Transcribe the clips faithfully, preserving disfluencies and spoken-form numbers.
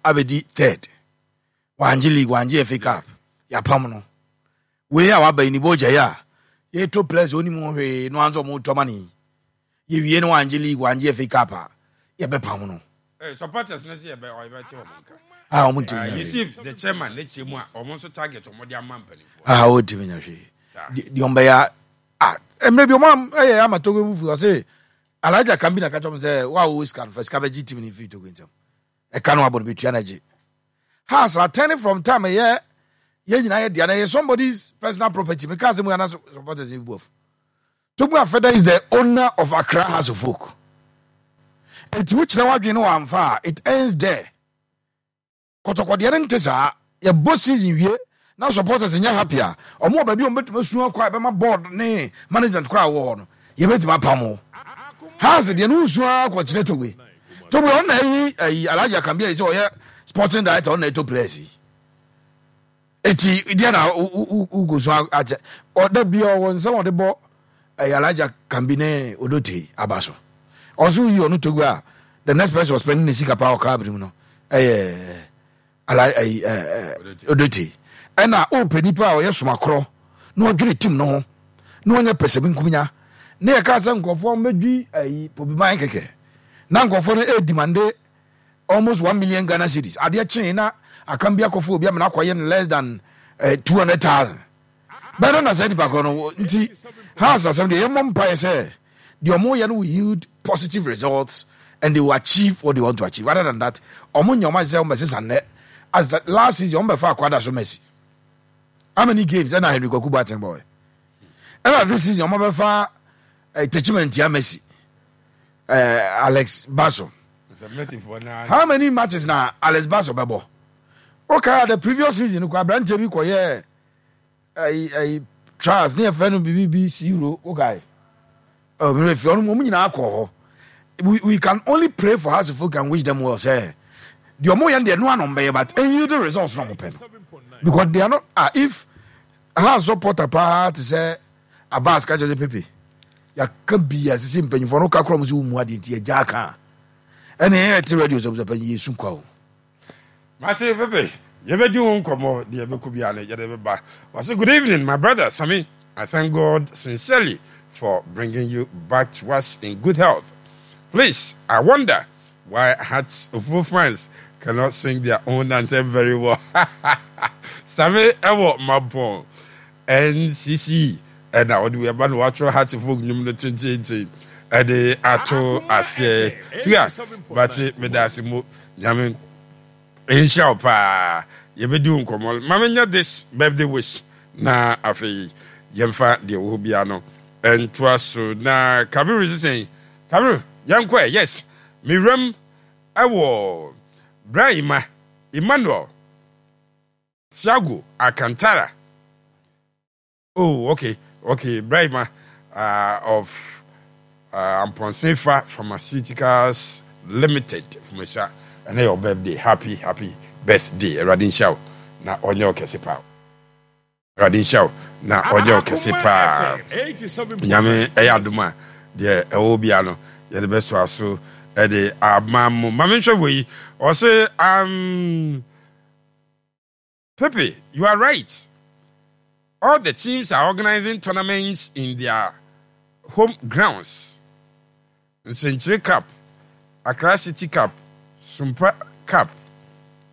Abɛdi third, wangye league, wangye F A Cup, yɛapam no. Wei a waba yi ne bɔgya yi a yɛtɔ players a onim ho hwee no anso ɔmo tɔ ma ne yɛwie no, wangye league, wangye F A Cup a, yɛbɛpam no. Eh, supporters no sɛ yɛbɛ ɔyɛbɛte wɔn nka. A ɔmo ntumi Uh, nya hwee. Yusuf the chairman ne kyerɛ mu a, ɔmo nso target ɔmo de ama mpanimfoɔ. A ɔntumi nya hwee. Saa. deɛ deɛ ɔmbɛyɛ a, mmerɛ bi ɔmo ɛyɛ ama Togo bufu, ɔse Alhaji Akambi na ka kyerɛ mo sɛ wa wo sika no fa sika bɛgye team no firi Togo ntɛm, ɛka no wabɔ no bɛtua no agye Hearts attorney from time. Ɛyɛ yɛn nyinaa yɛ dea na ɛyɛ somebody's personal property. Meka asɛm yi ana supporters ni bu afu. Togbe Afede is the owner of Accra Hearts of Oak, eti wokyerɛ wadwene no wamfa a, it ends there. Kɔtɔkɔdeɛ no nte saa. Yɛbɔ season wie na supporters nyɛ happy a, ɔmo wɔ baabi a ɔmo bɛtumi asu akɔ a ɛbɛma board ne management koraa wɔ hɔ no, yɛbɛtumi apam wo. Hearts deɛ no, nsu akɔkyerɛ Togbe. Togbe ɔno na ɛyi ɛyi Alhaji Akambi ayi sɛ ɔyɛ sporting director, ɔno na ɛtɔ players yi. Eti deɛ na wogu so akyɛ ɔda bia ɔwɔ nsɛm a ɔde bɔ ɛyɛ Alhaji Akambi ne Odote aba so. Ɔso yi ɔno Togbe a, the next person was spending ne sika paa wɔ club no mu no ɛyɛ ala ɛyi ɛɛ Odote. Ɛna ɔpɛ nipa a ɔyɛ somakorɔ na ɔdwene team no ho na ɔnyɛ pɛsɛmi nkunya ne yɛ kaa sɛ nkurɔfoɔ mbɛdwi ɛyi pobiman kɛkɛ na nkurɔfoɔ no ɛɛ demand almost one million Ghana cedis. Adeɛ kyee na akam bi akɔfo obi amena akɔyɛ no less than uh, two hundred thousand bɛn no na sɛ nipa korɔ no. Nti Hearts asɛm deɛ, yɛmmɔ mpaeɛ sɛ deɛ ɔmo yɛ no will yield positive results and they will achieve what they want to achieve. Other than that, ɔmo nyɛ ɔmo ayɛ sɛ ɔmo bɛsesa nnɛ. As the last season, ɔmo bɛfa akwada so Mercy, how many games ɛna Henry Kwaku Boateng bɔɛ? Ɛna this season ɔmo bɛfa uh, Techimantia Mercy, uh, Alex Baso. Sɛ Mercy foɔ naa. How many matches na Alex Baso bɛbɔ? Okay, the previous season kɔ, aberanteɛ bi kɔyɛ ɛyi ɛyi trials ne yɛfrɛ no bibi bi siro. Okay, ɔ mmerɛ fi ɔno ɔmo nyinaa kɔ hɔ. we we can only pray for Hearts of Oak and wish them well sɛ deɛ ɔmo yɛ no deɛ no ano mbɛyɛ, but ɛyi the results na ɔmo pɛ no, because they are not, ah, if Hearts supporter paa te sɛ Abbas ka kyerɛ sɛ Pepe yaka bi a sisi mpanyinfoɔ no ka korɔ mo sɛ wɔn mu adeɛ nti yɛgya aka a, ɛna yɛn yɛ te radio sɛ panyin yɛ su kwa o. Mate Pepe, yɛbɛdi ho nkɔmmɔ deɛ ɛbɛkɔ biara no yɛde bɛba. Wɔse, "Good evening, my brother Sami. I thank God sincerely for bringing you back to us in good health. Please, I wonder why Hearts of Oak fans cannot sing their own anthem very well." Sami ɛwɔ Mabɔn N C C ɛna ɔde wei ɛba na watwerɛ Hearts of Oak nnwom no tententen ɛde ato aseɛ. Tua bate, meda ase mo. Nyame nhyira wo paa. Yɛbɛdi wo nkɔmmɔ. Ma menyɛ this birthday wish na afei yɛmfa deɛ wɔ hɔ biara no ntoa so. Na Kabiru sesɛn, Kabiru, yɛnkɔ ɛ. Yes, mewuram ɛwɔ Brahima Emmanuel Tiago Alcantara. Oh, okay okay Brahima uh, of uh, Amponsefa Pharmaceuticals Limited, Fumesa, ɛnɛ yɛ birthday. Happy, happy birthday. Awurade nhyira wo na ɔnyɛ wo kɛse paa. Awurade nhyira wo na ɔnyɛ wo kɛse paa. Nyame ɛyɛ adom a, deɛ ɛwɔ bia no yɛde bɛsoa so ɛde ama mo. Ma menhwɛ wɔ yi, ɔse, um, "Pepe, you are right. All the teams are organizing tournaments in their home grounds. Nsenkyire Cup, Accra City Cup, Sumpa Cup,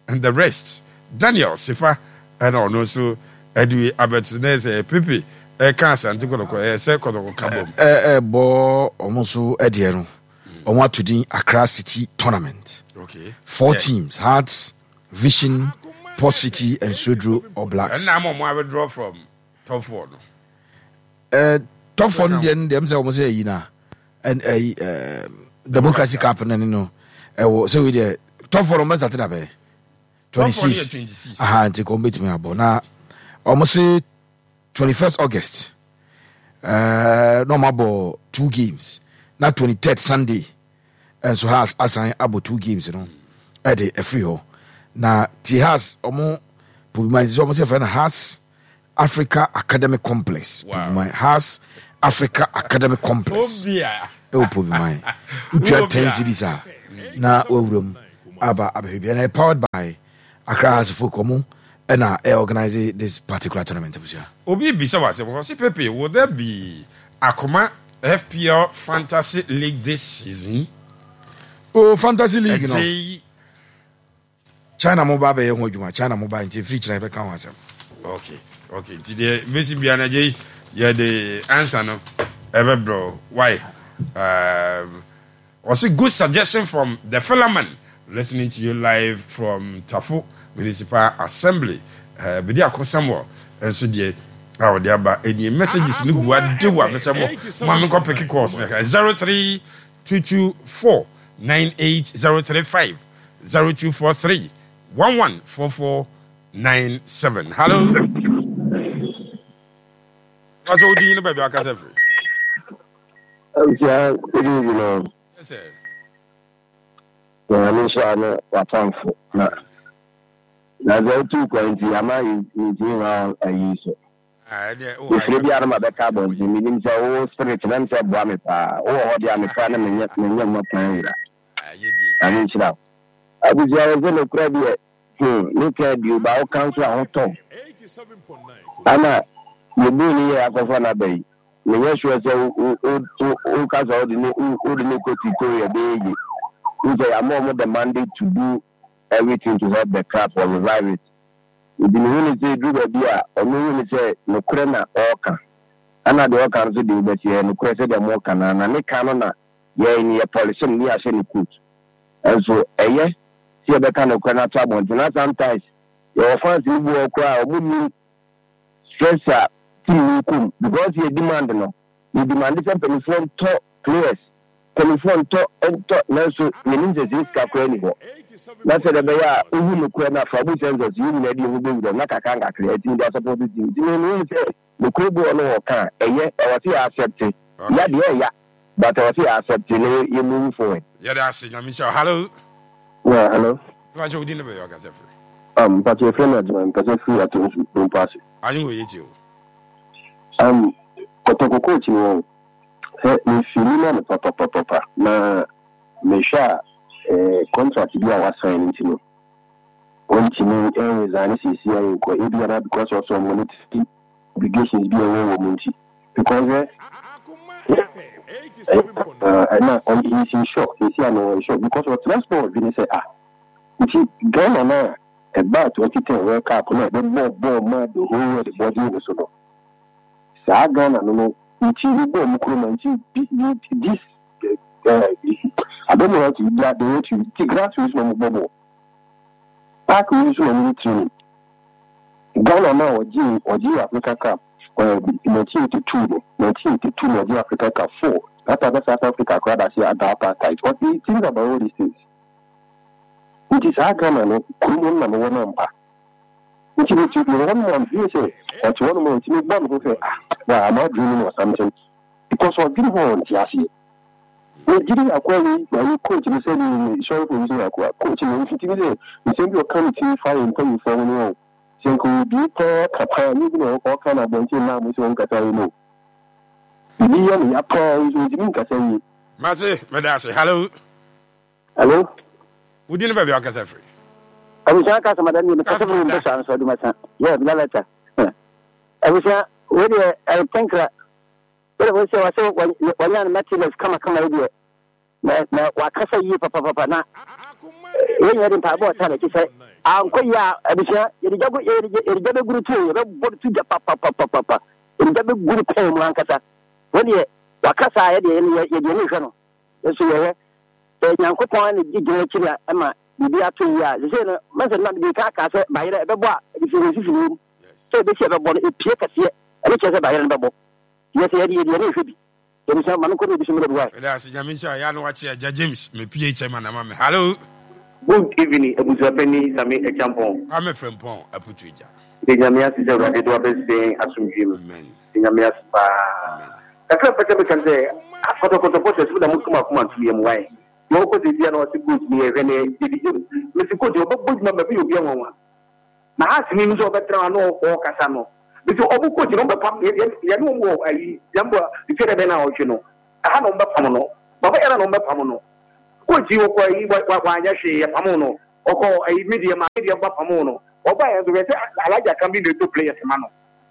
and the rest." Daniel Sifa ɛna ɔno nso ɛde abɛto ne sɛ Pepe ɛka Asante Kɔtɔkɔ ɛyɛ sɛ Kɔtɔkɔ ka bom. Ɛ ɛbɔ ɔmo nso ɛdeɛ no, ɔmo ato din Accra City Tournament. Okay. Four Yeah. teams: Hearts, Vision, Port City and Swedru All Blacks. Ɛnna ama ɔmo withdraw from top four no. Ɛɛ top four no deɛ no deɛ, m sɛ ɔmo sɛ ɛyi na ɛn ɛyi ɛɛ Democracy Cup no ne no ɛwɔ sɛ wei deɛ, top four no ɔmo bɛ start na bɛyɛ twenty Top four no yɛ six. twenty six. Aha, nti kɔn bɛtumi abɔ na ɔmo se twenty first August ɛɛ na ɔmo abɔ two games, na twenty third Sunday ɛnso Hearts asan abɔ two games no ɛde ɛfiri hɔ. Na ti Hearts ɔmo Pobiman sɛ ɔmo sɛ fɛ no Hearts Africa Academic Complex. Wow. Pobiman, Hearts Africa Academic Complex Obia. ɛwɔ Pobiman. Wotua Wobia. ten cedis a na wawura mu. Aba abɛhwɛ bi, ɛna powered by Accra Hearts of Oak, ɔmo ɛna ɛ organize this particular tournament, abusua. Obi bisa wa sɛ, wɔsi Pepe, will there be Akoma F P L Fantasy League this season? O, Fantasy League no. Ɛgye. China mo ba bɛyɛ ho adwuma, China mo ba, nti efiri kyerɛ yɛbɛka ho asɛm. okay okay nti deɛ bɛsi bia no, agye yɛde answer no ɛbɛbrɛ. Why um, ɔsi good suggestion from the Philaman, listening to you live from Tafo Municipal Assembly. uh, bidi akɔ Samuel nso deɛ a ɔde aba ɛnie. Messages no gu adew a mesɛ mo mo a menkɔ pick calls no. zero three two two four nine eight zero three five, zero two four three one one four four nine seven. Hello, wàtò odi yín baabi akasa firi. Abusua, good evening o. Yes, sir. Nyame nhyira ne w'atamfo na na sɛ wotu kwan nti ama mentumi ma ayi so. Ah, ɛdeɛ wɔ Mefiri biara no ma bɛka abɔnten, menim sɛ wo spirit nam sɛ boa me paa. Wowɔ hɔ deɛ a, mekra ne menyɛ menyɛ mmɔ kwan wura. Ayɛ die. Nyame nhyira wo. Abusua, wɔ sɛ nokorɛ deɛ, hmm, meka bio ba woka nso a hotɔ ana yɛbuu ne yɛ akɔfa no aba yi, menyɛ sure sɛ woka sɛ wode ne wode ne kɔ tutorial bɛyɛ ye n sɛ yɛama ɔmo the mandate to do everything to help the club or revive it. Nti mehu ne sɛ ɛduru baabi a ɔno hu ne sɛ nokorɛ na ɔɔka, ana deɛ ɔka no so deɛ wobɛsi ɛyɛ nokorɛ sɛdeɛ moɔka no, na ne ka no na yɛn ne yɛ polish no ne yɛahyɛ ne coat. Ɛnso ɛyɛ sɛ yɛbɛka nokorɛ no ato abɔnten, na sometimes yɛwɔ fans no bi wɔ koraa a ɔmo nim stress a team no kɔm, because yɛ demand no, yɛ demand sɛ mpanimfoɔ ntɔ players, mpanimfoɔ ntɔ ntɔ, nanso yɛnim sɛ sɛ sika koraa ni hɔ, na sɛ deɛ ɛbɛyɛ a wohu nokorɛ no afa bu census yɛn nyinaa de yɛn ho bɛwura mu na kakra nkakra ɛtumi de asupport team. Nti mehu sɛ nokorɛ bi wɔ no wɔ ka a ɛyɛ, ɛwɔ sɛ yɛ accept ya deɛ ɛya, but ɛwɔ sɛ yɛ accept na yɛ move forward. Yɛde ase, Nyame nhyira wo. Hello. Yeah, hello. Mepa kyɛ, wodi ne baabi akasa firi. Um, mpatse efrɛ me Adwuma, mpɛsɛ firi ato nsu mpo ase. Anyi wɔ yɛ tie o. Um, Kɔtɔkɔ coach no, hɛ, mefili ma no papapapapa, na mehwɛ a eh, contract bi a wasign no nti no, wɔntumi ɛnresign seesi a yɛnkɔ ebi ana because of some monetary obligations bi a ɛwɔ wɔ mu nti, because ɛ ɛna ɔy he's in shock seesi a no, ɔyɛ shock because ɔtena sport bi ne sɛ, ah, nti Ghana na ɛbaa twenty ten World Cup na ɛbɛbɔ bɔɔl ma the whole world bɔgye ne so no, saa Ghana no no nti wobɔ ɔmo kurom a nti bi bi this uh, I don't know how to they they want to ti grass wei so na ɔmo bɔ bɔɔl, park wei so na ɔmo yɛ training. Ghana na ɔgye ɔgye Africa Cup nineteen eighty two no, nineteen eighty two na ɔgye Africa Cup four. That time South Africa koraa da se ada apartheid. Ɔte think about all these things, nti saa Ghana no kurom no na mewɔ no ampa. Nti meti mewɔ hɔ nom a, mefeel sɛ ɔte hɔ nom a nti mebɔ me ho sɛ, ah, wa am I dreaming or something, because ɔdwene ho a ɔnte aseɛ. Megyere akoa wei mayi coach no sɛ ne sorry for using akoa coach no, mfiti bi sɛ nsɛm bi ɔka ne tiri fa yɛ mpanyimfoɔ ho no, ɔ sɛ nka obie paa ka paa nyɛ bi na ɔka no abɔnten naa mo sɛ ɔnkasa yi no, biribi yɛ no ya paa nso ntumi nkasa yie. Mate, meda ase. Hello. Hello. Wodi ne baabi akasa firi. Abusua, kasa madam yi mekasa firi mpɛ saa nso adumasa yɛ lalata. Abusua, wei deɛ ɛyɛ wode wo sɛ wɔsɛ wɔnya no materials kamakama yi deɛ, na na wakasa yie papapapa, na yɛn nyɛ de mpaebɔ ɔta n'akyi sɛ ankɔ yie a, abusua, yɛde gya yɛde gya bɛguru tuo, yɛbɛbɔ to gya papapapapa, yɛde gya bɛguru pɛn mu ankasa. Wɔn deɛ wakasa a, yɛdeɛ yɛdeɛ ne hwɛ no nso yɛhwɛ sɛ Nyankopɔn na gye gyina akyiri a ɛma biribi ato yie a, sesei no mɛsɛ no de ka aka sɛ bayerɛ ɛbɛbɔ a ɛde fi sisi wɔ mu sɛ ɛbɛsi ɛbɛbɔ no ɛpie kɛseɛ, ɛne kyerɛ sɛ bayerɛ no bɛbɔ yɛ sɛ yɛde yɛdeɛ ne hwɛ bi. Yɛbisa ma menkɔ ne ebi so mmerɛ bi wae. Meda ase, Nyame nhyira yɛ ano wakye. Agya James, me P A chairman ama me. Hello. Good evening, abusuapɛni Sami Acheampong. Kwame Frempɔn Aputu Agya. De Nyame ase sɛ Awurade de wabɛsɛn asomdwe mu. Amen. De Nyame ase paa. Kakra mpɛ sɛ meka sɛ Kɔtɔkɔ supporters mo na motum akoma ntom yɛ mo wae. Deɛ ɔkɔ sɛ bia na ɔse coach ni yɛhwɛ ne yɛde gyem. Mesi coach ɔbɛbɔ dwuma ma bi obi anwanwa. Na ha sini no sɛ ɔbɛtena hɔ na ɔkasa no. Mesi ɔmo coach no ɔbɛpam yɛne ɔmo wɔ ayi yɛmbɔ efie dɛ bɛn na ɔhwɛ no. Ɛha na ɔmo bɛpam no. Baba yɛrɛ na ɔmo bɛpam no. Coach yi wɔkɔ ayi wanyɛ hwee, yɛpamo no. Ɔkɔ ayi media ma media ba pamo no. Ɔba yɛn nso hwɛ sɛ Alhaji Akam bi na ɛtɔ players ma no.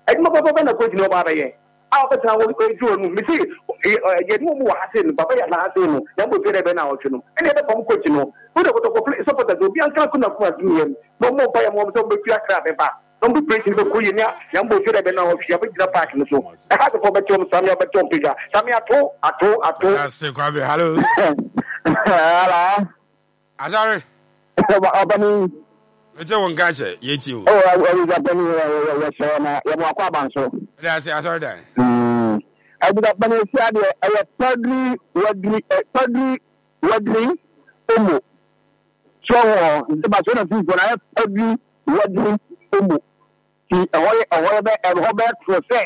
Adwuma papa bɛ na coach no ɔba abɛyɛ a ɔbɛtena hɔ ɛduru ɔnum mesi yɛne wɔ mu wɔ ha sei no, baba yɛ ha sei no, na mbɔ fie dɛ bɛ na ɔtwe no ɛne yɛbɛpam coach no. Wode Kɔtɔkɔ supporters obi ankra ko na kuma so yɛm na ɔmmɔ mpa yɛ ma ɔm sɛ ɔmbɛfiri akra bɛba na ɔmbɛ preaching bɛkɔ yie nea na mbɔ fie dɛ bɛ na ɔtwe abɛgyina park no so. Ɛha sɛ fɔ bɛkyɛ ɔm same ɔbɛkyɛ ɔm pagya same ato ato ato. Ase Kwame, hello. Hello. Asare. Ọbani. Mete wo nka kyɛ, yɛtie o. Oh, Abusuapani, yɛhyɛ na yɛmo akɔ aba nso. Ɛde ase asɔre dan. Abusuapani, esi adeɛ ɛyɛ Padri Wadri, Padri Wadri Omo. So wɔ nti Barcelona team fo na ɛyɛ Padri Wadri Omo. Ti ɛhɔ yɛ ɛhɔ yɛ bɛ ɛhɔ bɛ toro sɛ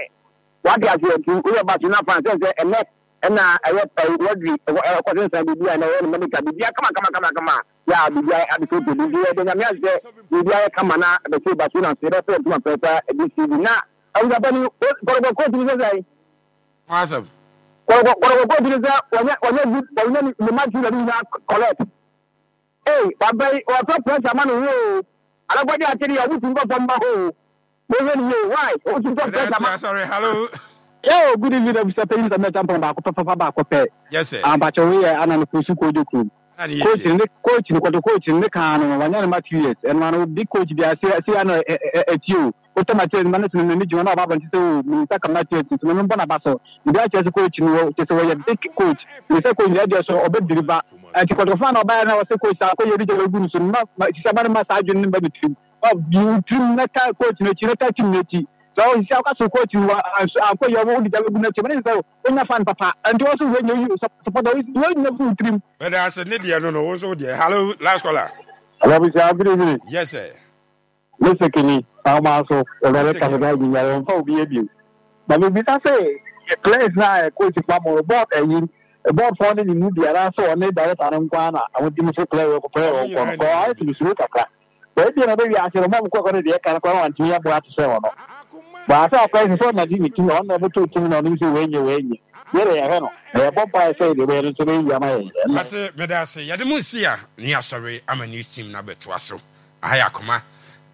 wate aseɛ, nti woyɛ Barcelona fan sɛ sɛ ɛnɛ ɛna ɛyɛ Wadri ɛkɔ sensan biribi a ɛnɛ ɛyɛ no medical biribi kama kama kama kama yɛ a biribi abɛsɛ otu bi, nti yɛde Nyame ase sɛ biribi ayɛ kama na bɛsɛ Barcelona nso yɛbɛfɛ ntoma pɛpɛ ɛde si bi na Abusuapani, Kɔtɔkɔ coach ni sɛ sɛ Awesome. Kɔtɔkɔ Kɔtɔkɔ coach ni sɛ wɔnyɛ wɔnyɛ good, wɔnyɛ ne match na ne nyinaa correct. Ee, wabɛyi wɔtɔ pressure ma ne ho o, alakɔgye akyere yɛ ɔmo tumi bɔ fam ba hɔ o, wɔhwɛ ne yie why ɔmo tumi tɔ pressure ma. Sorry, hello. Yo, good evening, Abusuapani Sɛ Mɛta Mpɔn baako pɛpɛpɛ baako pɛ. Yes, sir. Ampakyɛ wei yɛ ana no kusu kojo kurom. Coach ne coach ne kɔtɔ coach ne kan no wanya ne ma two years, ɛno ano big coach bi ase ase ano ɛti o wotɔ materials ma ne sene ne dwuma na ɔba abɔnten sɛ o me nsa ka materials, nti no mbɔ n'aba so ebi akyerɛ sɛ coach no wɔ kyerɛ sɛ wɔyɛ big coach ne sɛ coach ne ɛdeɛ so ɔbɛ deliver. Ɛnti kɔtɔkɔfa na ɔbaeɛ na wɔsɛ coach saa akɔyɛ bi gyɛ gu no so no ma sisi aba no ma saa adwene no ba ne tirim ɔ tirim na ta coach n'akyi na ta team n'akyi sɛ ɔsisi akɔ so coach no ankɔ yɛ ɔmo de gya bɛgu n'akyi ɔmo ne sɛ wonya fan papa, nti wɔn so wei nyɛ yi supporter wei nyɛ fu tirim. Bɛda ase ne deɛ no no wo nso deɛ. Hello, last caller. Hello, Bisa, good evening. Yes, sir. Mister Kenny, ahoma so, ɔbɛrɛ kasa di nyare ɔmfa obi ebio. Na mebisa sɛ players na coach pa mo board ɛyi board fɔ ne ne mu biara sɛ ɔne director no nko ara na ɔmo di mo so player wɔ player wɔ nkɔ no kɔ ayɛ sɛ mesuro kakra. Baabi na ɔbɛwi ase no ɔmo kɔ kɔ no deɛ ɛka no kɔ no wantumi aboa te sɛ ɔno. Baasa akɔyɛ sɛ sɛ ɔna di ne team, ɔno na ɛbɛtɔ team na ɔno sɛ wɔnyɛ wɔnyɛ. Yɛrɛ yɛhwɛ no na yɛbɔ mpaeɛ sɛ deɛ ɔbɛyɛ no nso bɛyi ama yɛn. Mate, meda ase. Yɛde mo nsi a ne asɔre ama news team no abɛtoa so. Aha yɛ Akoma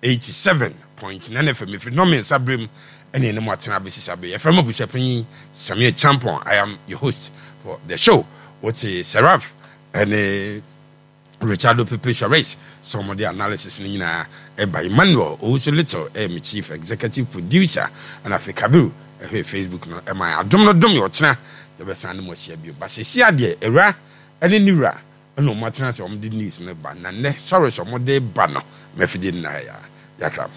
eighty-seven point nine F M. Ɛfiri nnɔmmiɛnsa berɛ mu ɛne ɛne mu atena abɛsi saa berɛ. Yɛfrɛ mo Abusuapanyin Samir Champon. I am your host for the show. Wote Seraph ɛne Richardo Pepe Suarez sɛ ɔmɔde analysis no nyinaa ɛba. Emmanuel Owusu Little ɛyɛ me chief executive producer, ɛna afei Kabiru ɛhwɛ Facebook no ɛma adom no dom yɛ. Ɔkyena yɛbɛsan ne mu ahyia bio, ba sɛsi adeɛ awura ɛne ne wura ɛna ɔmo atena sɛ ɔmo de news no ba na nnɛ sɔre sɛ ɔmo de ba no mafidie no na ha yɛ yakram.